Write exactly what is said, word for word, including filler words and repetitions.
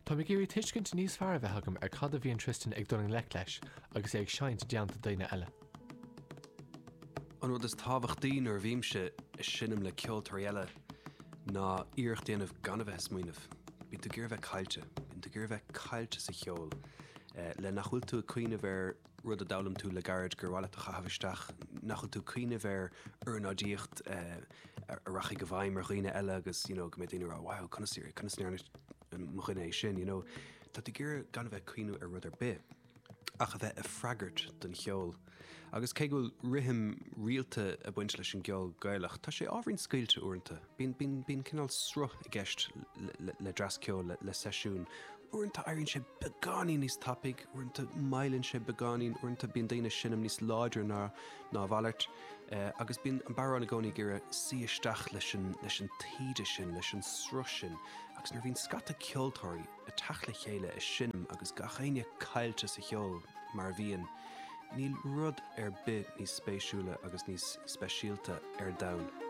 Tá mé ag iarraidh tuiscint níos fearr a bheith agam ar cad a bhíonn Tristan ag dul i ngleic leis agus é ag seinnt i dteannta daoine eile. An rud is tábhachtaí nuair a bhímse ag seinm le ceoltóirí eile ná iarracht a dhéanamh gan a bheith ag smaoineamh. Bíonn tú ag iarraidh a bheith caillte, bíonn tú ag iarraidh a bheith caillte sa cheol le nach bhfuil tú ag cuimhneamh ar rud a d'fhoghlaim tú le gairid gur mhaith leat a chaitheamh isteach, nach bhfuil tú ag cuimhneamh ar ornáidíocht a rachaidh i bhfeidhm ar dhaoine eile agus you know go mbeidh daoine ag rá wow conas conas a ndearna mo dhuine é sin, you know. Tá tú ag iarraidh gan a bheith ag cuimhneamh ar rud ar bith ach a bheith ag freagairt don cheol. Agus cé go bhfuil rithim rialta ag baint leis an gceol Gaelach, tá sé ábhairín scaoilte uaireanta. Bíonn, bíonn, bíonn cineál sruth i gceist le, le dreas ceoil, le, le seisiún. Uaireanta éiríonn sé beagáinín níos tapaidh, uaireanta moilleann sé beagáinín, uaireanta bíonn daoine ag seinm níos láidre ná, ná a mhalairt, agus bíonn an bodhrán i gcónaí ag iarraidh suí isteach leis an, leis an taoide sin, leis an sruth sin. Agus nuair a bhíonn scata ceoltóirí ag teacht le chéile ag seinm agus gach éinne caillte sa cheol mar a bhíonn, níl rud ar bith níos spéisiúla agus níos speisialta ar domhan.